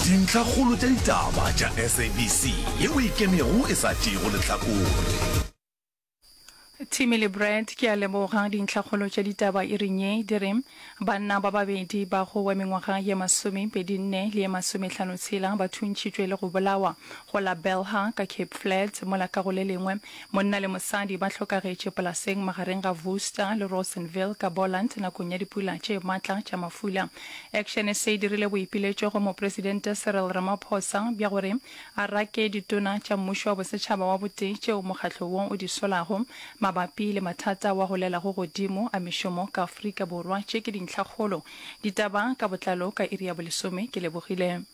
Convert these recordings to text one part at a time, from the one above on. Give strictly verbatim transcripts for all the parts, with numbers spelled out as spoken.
Dintlhakgolo tša ditaba tša S A B C yeo e ikemego e sa tšeego lehlakore. Timmy le Brad, ke a leboga. Dintlhakgolo tša ditaba iring ye di re banna ba babedi ba go wa mengwaga ye masomepedi nne le ye masomehlano tshela ba thuntšhitšwe le go bolawa go la Belhar ka Cape Flats, mola ka go le lengwe monna le mosadi ba hlokagetše polaseng magareng ga Worcester le Rawsonville ka Boland nakong ya dipula tše matla tša mafula. Action S A e dirile boipiletšo go Mopresidente Cyril Ramaphosa bja gore a rake ditona tša mmušo wa bosetšhaba wa botee tšeo mokgatlo wo o di solago mabapi le mathata wa golelago godimo a mešomo ka Afrika Borwa. Tše ke dintlhakgolo. Ditaba ka botlalo ka iri ya bolesome. Ke lebogile.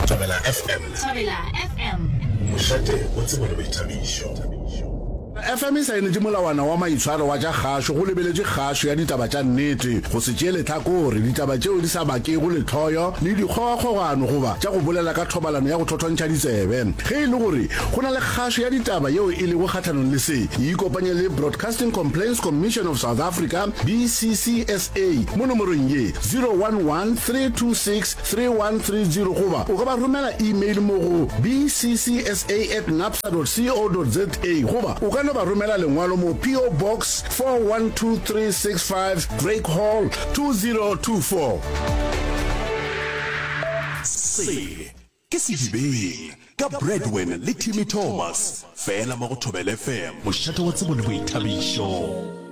Thobela F M. Thobela F M. Mošate wa tsebo le boithabišo. F M e saenetše molawana wa maitshwaro wa tša kgašo go lebeletše kgašo ya ditaba tša nnete, go se tšee lehlakore, ditaba tšeo di sa bakego lehloyo le dikgogakgogano goba tša go bolela ka thobalano ya go thothontšha ditsebe. Ge e le gore go na le kgašo ya ditaba yeo e lego kgahlanong le se, ikopanye le Broadcasting Complaints Commission of South Africa, B C C S A, mo nomorong ye zero one one, three two six, three one three zero goba o ka ba romela email mo go B C C S A at nabsa dot co dot za goba o ka no ba romela lengwalo mo P O Box four one two three six five, Drake Hall, two zero two four. Se ke Sedibeng ka Bradwin le Timmy Thomas, fela mo go Thobela F M, mošate wa tsebo le boithabišo.